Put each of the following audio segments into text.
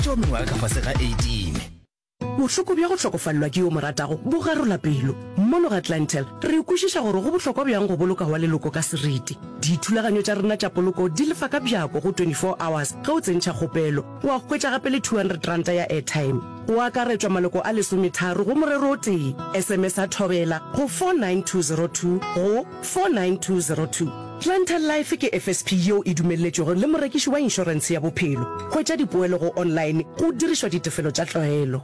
Tšeo mengwaga ka fase ga 18. Bohloko bja go hlokofalelwa ke yo o mo ratago bo garola pelo. Mono ga Clientele, re kwešiša gore go bohlokwa bjang go boloka wa leloko ka seriti. Dithulaganyo tša rena tša poloko di lefa ka bjako go 24 hours ge o tsentšha kgopelo, wa hwetša gape le R200 ya airtime. Go akaretšwa maloko a lesometharo go morero o tee. SMS-a Thobela go 49202 go 49202. Clientele Life ke FSP yeo e dumelletšwego le morekiši wa inšorentshe ya bophelo. Hwetša dipoelo go online go dirišwa ditefelo tša tlwaelo.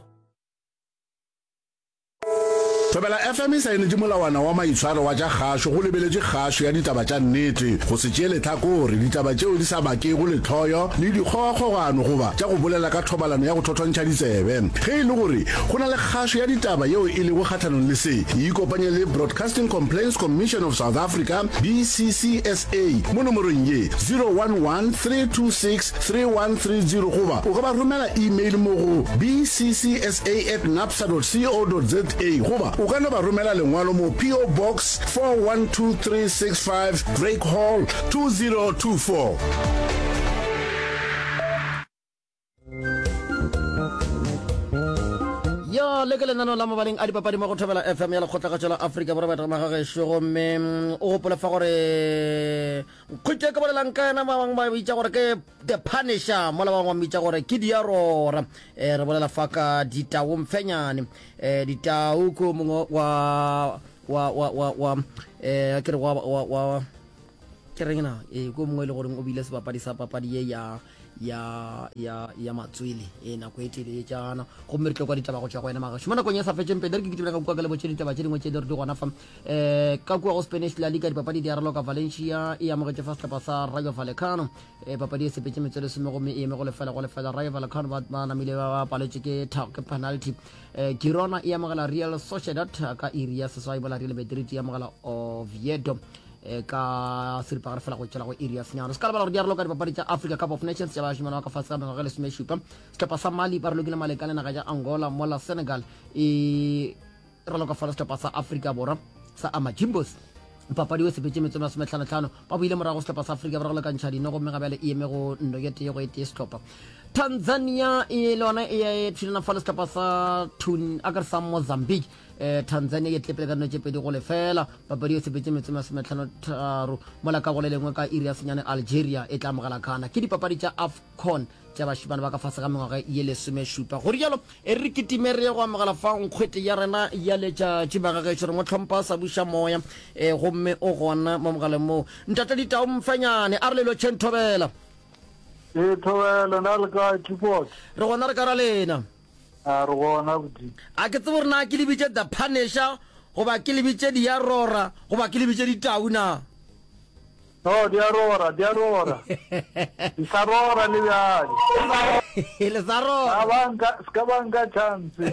Thobela FM e saenetše molawana wa maitshwaro wa tša kgašo go lebeletše kgašo ya ditaba tša nnete, go se tšee lehlakore, ditaba tšeo di sa bakego lehloyo le dikgogakgogano goba tša go bolela ka thobalano ya go thothontšha ditsebe. Ge e le gore go na le kgašo ya ditaba yeo e lego kgahlanong le se, ikopanye le Broadcasting Complaints Commission of South Africa, BCCSA, mo nomorong ye, 011 326 3130 goba o ka ba romela email mo go bccsa at napsa dot co dot za goba o ka no ba romela lengwalo mo PO Box 412365 Drake Hall 2024. Ya le ke lenaneo la mabaleng a dipapadi mo go Thobela FM ya Lekgotlakgatšo la Afrika Borwa baetagama ga gešo gomme mm, o gopole fa gore nkgwitše ke bolelang ka yena ba bangwe ba bitša gore ke the punisher mola ba bangwe ba mmitša gore ke diarora um re bolela fa ka ditau mfenyane um ditau ke o mongwe wa wa wa wa wa um ke re wa wa wa ke reng na ee ko mongwe e le goreng o bile sebapadi sa papadi ye ya ya ya ya matswele e nako e telele tšana gomme re tlo kwa ditaba go tšwa go wena magašo mo nakong e sa fetšeng pele re ke kitimela ka kua ka lebotše ditaba tše dingwe tše di re di gona fa um ka kua go spanish la liga dipapadi di araloka valencia e amogetše fa sehlopha sa rayo vallecano um papadi e sepetše metswe lesome gomme e eme go lefela go lefela rayo vallecano ba ba namile ba paletše ke ke penalty um girona e amogela real sociedad ka iri ya seswai bola real madrid e amogela oviedo e ka seripagare fela go tšwela go iri ya senyane se ka lebala gore di aroloka dipapadi tša africa cup of nations tša bašimane ba ka fase ga mengwaga e lesomešupa sehlopha sa mali ba relokile maleka le naga ya angola mola senegal e raloka fala sehlopha sa afrika borwa sa amajimbos papadi o sepetse metswe masometlhanotlhano ba boile morago sehlopha sa afrika borwa go lekantšha dino gomme ga bjale e eme go nno ye tee go e tee sehlopha tanzania e le yona e thulana fa le sehlopha sa tun a ka re sa mozambique Eh, Tanzania e tlepele ka dino tše 2 go lefela. Papadi e sepetše metsotso masometlhano-tharo mola ka go le lengwe ka iri ya senyane Algeria e tla amogela Ghana. Ke dipapadi tša AFCON tša bašemane ba ka fase ga mengwaga ye lesomešupa. Go rialo e re kitime re ye go amogela fa nkgwete ya rena ya letšatši. Magagešo re mo hlompha sa buša moya e, gomme o gona mo mogaleng moo. Ntate Ditau Mfenyane a re le lotšheng Thobela. Ee, Thobela, na le kae Clifford? Re gona re ka ra lena. A re gona bodi. A ke tsebe gore na ke le bitše The Punisher goba ke le bitše Diarora goba ke le bitše Ditau na? No, di a rora, di a rora. Di sa rora le bjale. Le sa rora. Ska ba nka, ska ba nka chance.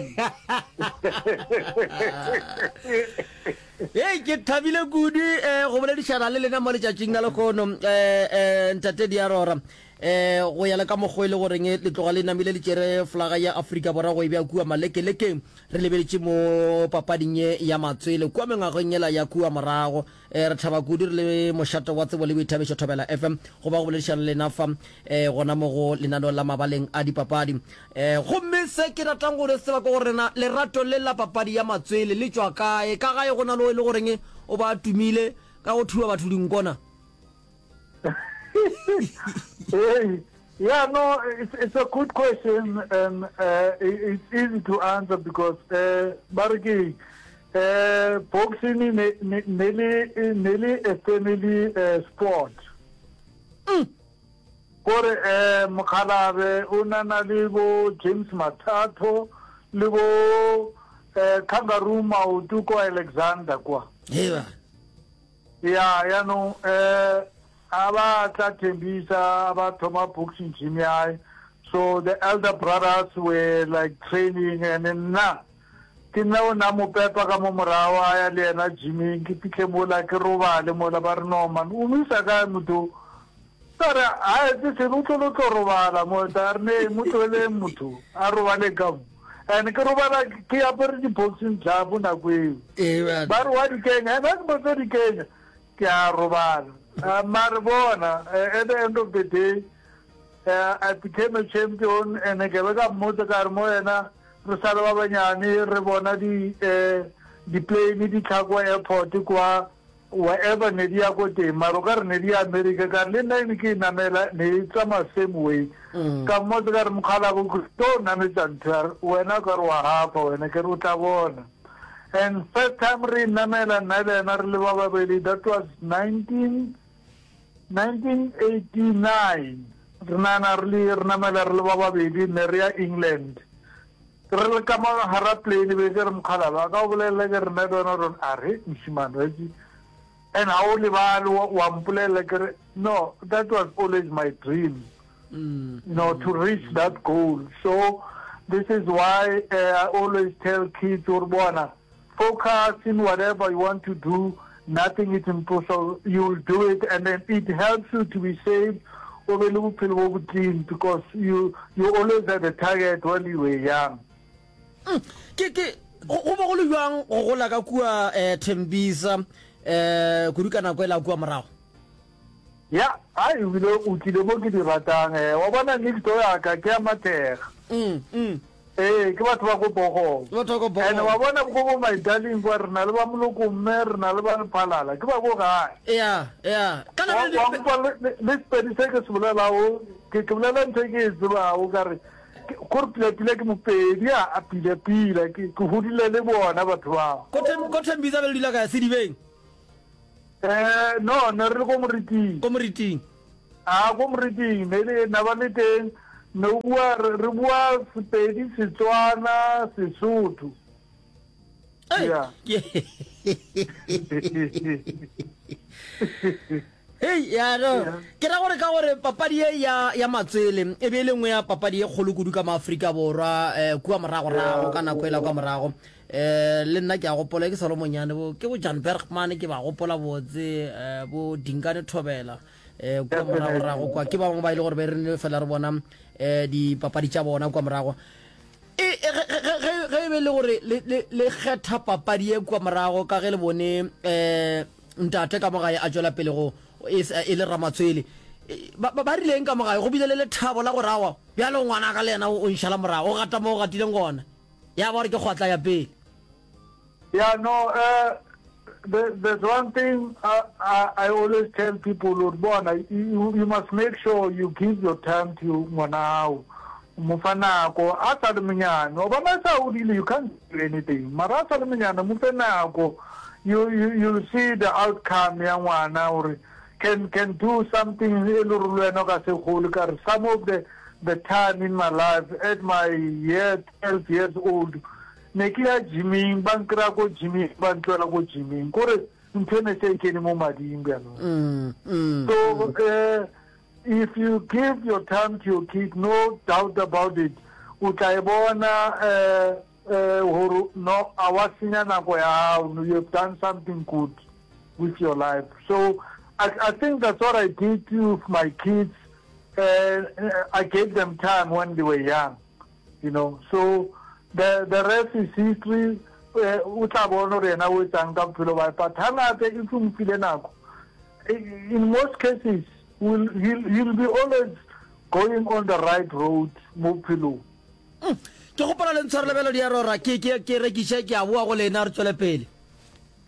Hei, ke thabile kudu eh, go boledišana le lena mo letšatšing la lehono eh, eh, Ntate Diarora. E, go ya le ka mokgo e le goreng le tloga le namile le tšere folaga ya Afrika Borwa go e bea kua malekelekeng, re lebeletše mo papading ye ya matswele kua mengwageng yela ya kua morago. E, re thaba kudu re le mošate wa tsebo le boithabišo Thobela FM go ba go boledišana le lena fa e, gona mo go lenaneo la mabaleng a dipapadi. E, gomme se ke ratang go re tseba ke gore na lerato le la papadi ya matswele le tšwa kae? Ka gae go na le o e le goreng o ba tumile ka go thuba batho dinko na? Hey, yeah, no, it's, it's a good question and uh, it's easy to answer because uh, ba re ke uh, boxing ne ne ne le ne le a family uh, sport. Mm. Kore eh mokgalabe o na na le bo James Mathatho le bo eh Kangaroo Maoto ko Alexander kwa. Heba. Ya, yaanong um a ba tla Tembisa, a ba thoma boxing gym ya hae. So the elder brothers were like training and nna ke nna o na mo pepa ka mo morago a ya le yena gyming ke fihle mola ke robale mola ba re no man o mo isa kae motho ka re a etse selo o tlo lo tlo robala mo ta re ne mo tlogeleng motho a robale ka mo and ke robala ke apere di-boxing glove nako eo ba re wa di kenya and a ke botse di kenya ke a robala uh, mare bona uh, at the end of the day. Uh, I became a champion and ke be ka mmotsa ka re mo yena re sa le ba banyane re bona di eh di-plane di tla kwa airport kwa wherever ne di ya ko teng mara o ka re ne di ya America ka re le nna ne ke e namela ne e tsamaya same way mm. ka mmotsa ka re mokgalabo ke tlo nametsa ntho ya wena ka re wa gafa wena ke re o tla bona and first time re e namela nna le ena re le ba babedi that was 19 1989 re nana re le re namela re le ba babedi ne re ya England re le ka mo gara plane be ke re mokgalaba a ka o bolelela ke re nna le wena rona a re mošimane wa itse and ga o lebale wa mpolelela ke re no that was always my dream mm. you know to reach that goal so this is why uh, I always tell kids gore bona Focus in whatever you want to do, nothing is impossible, you will do it and then it helps you to be safe, o be le bophelo bo bo clean because you you always had a target when you were young. Mm, ke ke go go be go le bjang go gola ka kua eh, Thembisa eh kudu ka nako e la kua morago? Ya, ai ebile o tlile mo ke di ratang eh. Wa bona next door ya ka ke ya Mathega. Mm, mm. Ee, ke batho ba ko Bogong. Ke batho ba ko Bogong. And wa bona ko bo my darling kwa re na le ba Moloko mme re na le ba Lephalala, ke ba ko gae. Ya, ya. Kana Wa le wa nkwa le le- le Sepedi se ke se bolelago, ke ke bolela ntho e ke e tsebago ka re ke- gore pila-pila ke Mopedi a a pila-pila ke ke hodile le bona batho bao. Ko Them- ko Thembisa be le dula kae Sedibeng? Eh, no, ne re le ko moriting. Ko moriting. A ko moriting, ne le na ba le teng, ne o bua re re bua Sepedi, Setswana, Sesotho. Ei, Yeah. ke- Hei, ya no. Ke ra gore ka gore papadi ye ya ya matswele e be e le nngwe ya papadi ye kgolo kudu ka mo Afrika Borwa eh, kua moragorago ka nako ela kwa morago. Eh, le nna ke a gopola ke sa le monyane bo ke bo Jan Bergman ke ba gopola botse eh, bo Dingane Thobela eh, kua moragorago kwa ke ba bangwe ba ile gore be re ne fela re bona eh, dipapadi tša bona kua morago. E, e, ge, ge, ge, ge e be le gore le, le, le kgetha papadi ye kua morago ka ge le bone eh, Ntate ka mo gae a tšwela pele go e, e le ramatswele. Ba, ba, ba rileng ka mo gae? Go bile le lethabo la gore awa, bjalo ngwanaka le yena o, o nšala morago, o gata mo o gatileng gona. Ya ba gore ke kgwatla ya pele. Yeah, no, uh, there, there's one thing I, I, I always tell people, gore bona, you, you must make sure you give your time to ngwana hao. O mo fa nako, a sa le monyane. Wa bona a sa hodile, you can't do anything. Mara a sa le monyane, mo fe nako. You, you, you'll see the outcome ya ngwana gore can, can do something e le gore le wena o ka se gole. Ka re some of the, the time in my life, at my year 12 years old, ne ke ya gyming, ba nkry-a ko gyming, ba ntlohela ko gyming. Kore ntho e ne se e kene mo mading bjanong. So, eh, If you give your time to your kid, no doubt about it, o tla e bona eh, eh, gore no, a wa senya nako ya gago, no, you have done something good with your life. So I, I think that's what I did with my kids. Uh, I gave them time when they were young, you know. So the, the rest is history. Eh, o tla bona gore yena o etsang ka bophelo ba but hangata if o mfile nako In most cases will he'll, he'll be always going on the right road mo bophelong. Mm. Ke gopola le ntshware lebelo di a rora ke ke ke rekiše ke a boa go lena re tswele pele.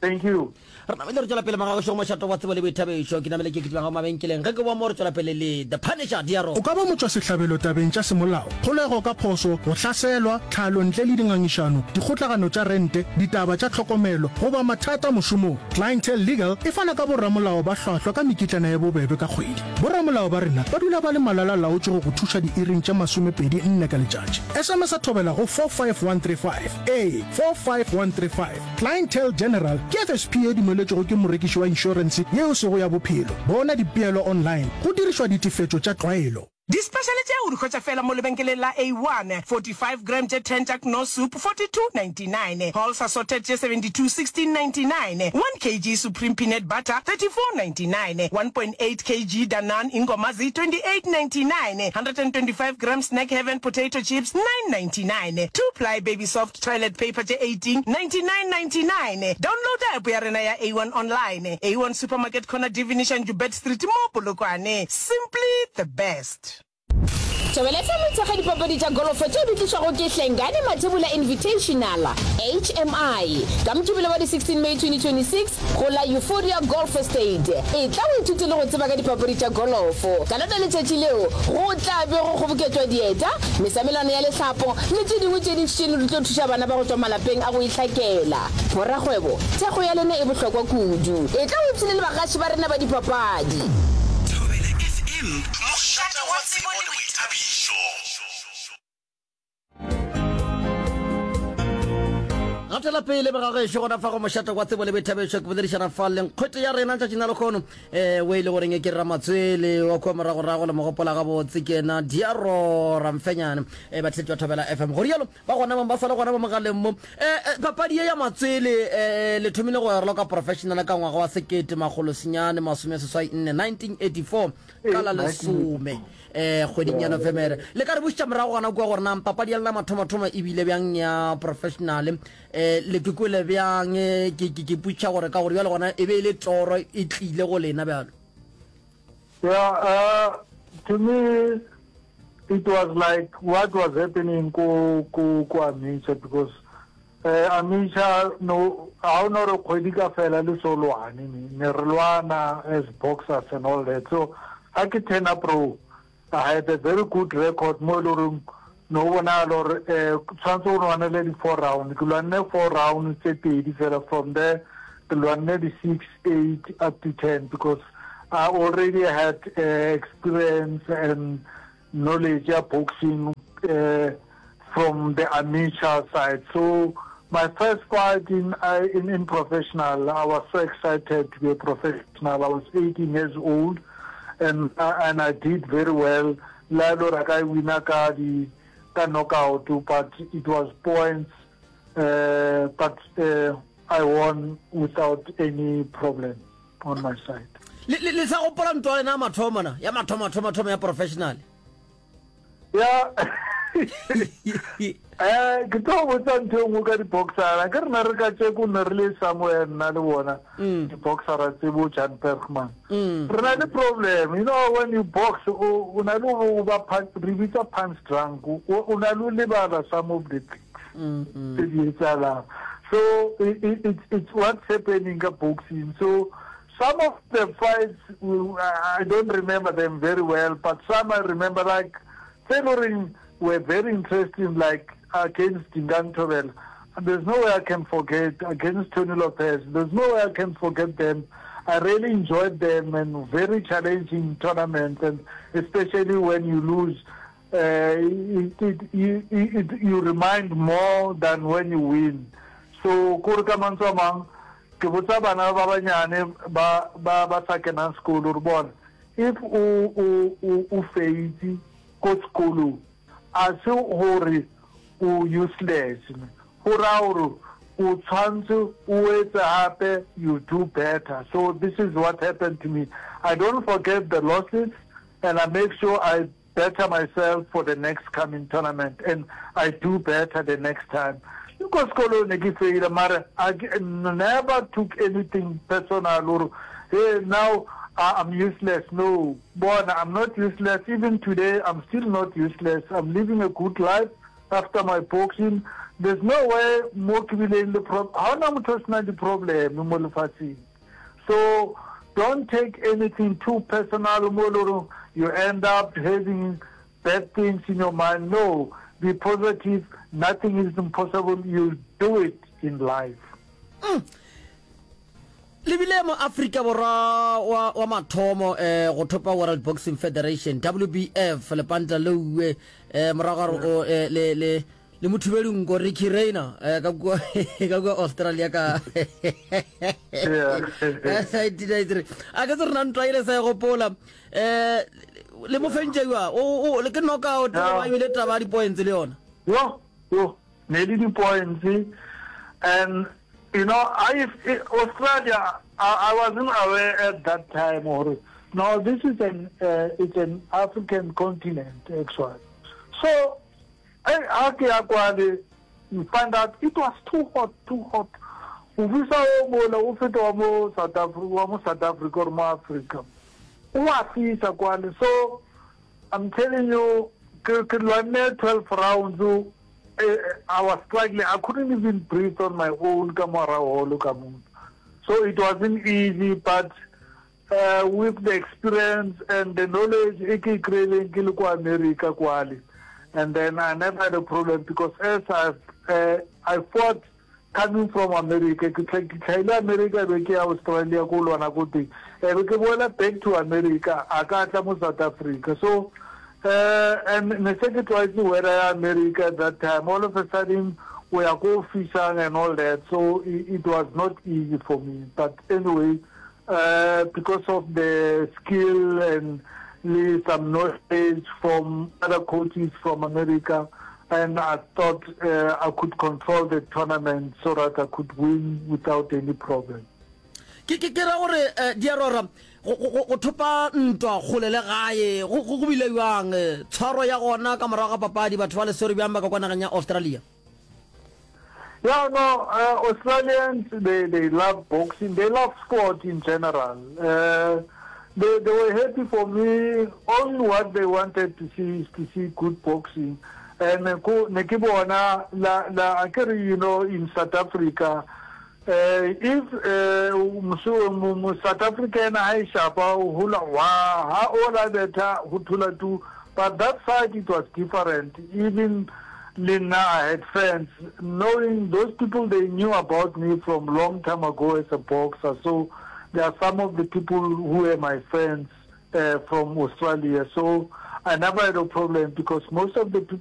Thank you. Re namele re tswela pele magagošo go mošato wa tsebo le boithabišo ke namele ke kitima ga mabenkeleng ge ke boa mo re tswela pele le The Punisher di a rora. O ka ba motšwasehlabelo tabeng tša semolao, kgolego ka phoso, go hlaselwa, tlhalo ntle le dingangišano, dikgotlagano tša rente, ditaba tša tlhokomelo goba mathata mošomong. Clientele Legal e fana ka boramolao ba hlwahlwa ka mekitlana ye bobebe ka kgwedi. Boramolao ba rena ba dula ba le malala-laotšwe go go thuša diiring tše 24 ka letšatši. SMS-a thobela go 45135. Ee, 45135. Clientele General ke FSP ye dumeletšwego ke morekiši wa inšorense ye e sego ya bophelo. Bona dipeelo online go dirišwa ditefetšo tša tlwaelo. Dispešale tše o di hwetša feela mo lebenkeleng la A1, 45 gram tše 10 tša Knorr soup, 42.99, Halls assorted tše 72, 16.99, 1 kg Supreme peanut butter, 34.99, 1.8 kg Danone Ingomazi, 28.99, 125 gram Snack Heaven potato chips, 9.99, 2 ply Baby Soft toilet paper tše 18, 99.99. Downloada app ya rena ya A1 online. A1 Supermarket corner Divinishan Joubert Street mo Polokwane. Simply the best. Thobela FM e thekga dipapadi tša golofo tšeo di tlišwago ke Hlengani Mathebula Invitational, HMI, ka Mokibelo wa di 16 May 2026 go la Euphoria Golf Estate. Etla o ithute le go tseba ka dipapadi tša golofo. Ka lona letšatši leo go tla be go kgoboketšwa dieta, mesamelano ya lehlapo le tše dingwe tše dintši tše di tlo thuša bana ba go tšwa malapeng a go ihlakela. Borakgwebo, thekgo ya lena e bohlokwa kudu. Etla o ipshine le bagaši ba rena ba dipapadi. Thobela FM, mošate wa tsebo le boithabišo. Gatela pele begagešo gona fa go mošate wa tsebo le boithabišo ke boledišana fa le nkgwete ya rena letšatšing la lekgono um o e le goreng ke ramatswele wa kua moragorago le mogopola gabotse ke ena diaro ramfenyane um batheetši ba thobela fm go rialo ba gona bang ba sa le gona mo mogaleng mo um papadi ye ya matswele um le thomile go raloka professional ka ngwaga wa sekete makgolo senyane masome seswai nne 1984 ka la lesome um kgweding ya novemere le ka re bušetša morago gona kua gore na papadi ya lena mathomothomo e bile bjang ya professional um le ke kwele bjang ke ke putša gore ka gore bjale gona e be e le toro e tlile go lena bjalo Yeah, uh, to me, it was like what was happening ko ko ko Amisha because uh, Amisha no ha o no re kgwedi ka fela le so lwane ne ne re lwana as boxers and all that so ha ke turn up pro I had a very good record mo e le goreng no bonagala gore um tshwanetse o lwanele di-four round ke lwanne four round tse pedi fela from there ke lwanne di-six eight up to ten because I already had uh, experience and knowledge ya boxing uh, from the amateur side so my first fight in, uh, in, in professional I was so excited to be a professional I was 18 years old and, uh, and I did very well la e le gore a ka e wina ka di ka knockout but it was points uh, but uh, I won without any problem on my side. Le, le, le sa gopola ntwa lena ya mathomo na ya mathomo thomo thomo ya professional ya eh ke tlo botsa ntho e nngwe ka di-boxera ke rena re ka tšeko ne re le somewhere nna le bona mm. di-boxera tse bo jan bergman mm. re na le problem you know when you box o na le o ba re bitsa punch drunk o na le o lebala some of the things mm, tse di etsalang so it, it, it's what's happening ka boxing so some of the fights I don't remember them very well but some I remember like tse le goreng were very interesting like against Dingaan Thobela there's no way I can forget against Tony Lopez there's no way I can forget them I really enjoyed them and very challenging tournaments and especially when you lose uh, it, it, you, it, you remind more than when you win so kore ka mantswe a mang ke botsa bana ba banyane ba ba ba sa kenang sekolo re bona if o o o o feitse ko sekolong a se gore o useless go raya gore o tshwanetse o etse gape you do better so this is what happened to me i don't forget the losses and i make sure i better myself for the next coming tournament and I do better the next time. Le ko sekolong ne ke faila mara I never took anything personal gore hey now I'm useless. No, bona I'm not useless. Even today I'm still not useless. I'm living a good life after my boxing. There's no way mo ke bileng le problem. Ha hona motho o senang di-problem mo lefatsheng. So don't take anything too personal mo e le goreng you end up having bad things in your mind. No, be positive, nothing is impossible, you'll do it in life. Mm. Le bile mo Afrika Borwa wa, wa mathomo eh, go thopa World Boxing Federation WBF lepanta leuwe eh, morago ga gore o eh, le, le le mothubedi nko Ricky Rayner eh, ka kua ka kua Australia ka Yeah. 1993 a ke se rena ntwa ile sa e gopola eh le mo fentše jwa o o le ke knockout Yeah. ba ebile taba ya di-points le yona Yo, yo, ne le di-points and you know, I, if, Australia, I, I wasn't aware at that time or no, this is an uh, it's an African continent actually. So Hei, ha ke ya kwale, you find out it was too hot, too hot. O fisa o mola o feta wa mo South Africa, wa mo South Africa or mo Africa. O a fisa kwale. So I'm telling you, ke ke lwanne 12 rounds, eh, I was struggling, I couldn't even breathe on my own ka morago holo ka mono. So it wasn't easy, but uh, with the experience and the knowledge e ke e kry-ileng ke le ko America kwale, and then I never had a problem because as I, uh, I fought Coming from America, ke tla ke tlhaile America be ke ya Australia ko lwana ko teng, e be ke boela back to America, a ka tla mo South Africa. So uh, and ne se ke tlwaetse weather ya America at that time, all of a sudden o ya ko fisang and all that, so it, it was not easy for me. But anyway, uh, because of the skill and le some knowledge from other coaches from America, and I thought uh, I could control the tournament so that I could win without any problem. Ke ke ke ra gore eh, di a rora go go go thopa ntwa kgole le gae go go bile bjang eh, tshwaro ya gona ka morago ga papadi batho ba le swere bjang ba ka kwa nageng ya Australia? Yeah, no, uh, Australians, they, they love boxing. They love sport in general. Uh, they, they were happy for me. Only what they wanted to see is to see good boxing. And uh, ne ke bona la la akere you know in South Africa uh, if uh, musu South African ha e shapa o hula wa ha o la betha ho thula tu but that side it was different even Le nna I had fans knowing those people they knew about me from long time ago as a boxer so there are some of the people who were my friends uh, from Australia so I never had a problem because most of the people.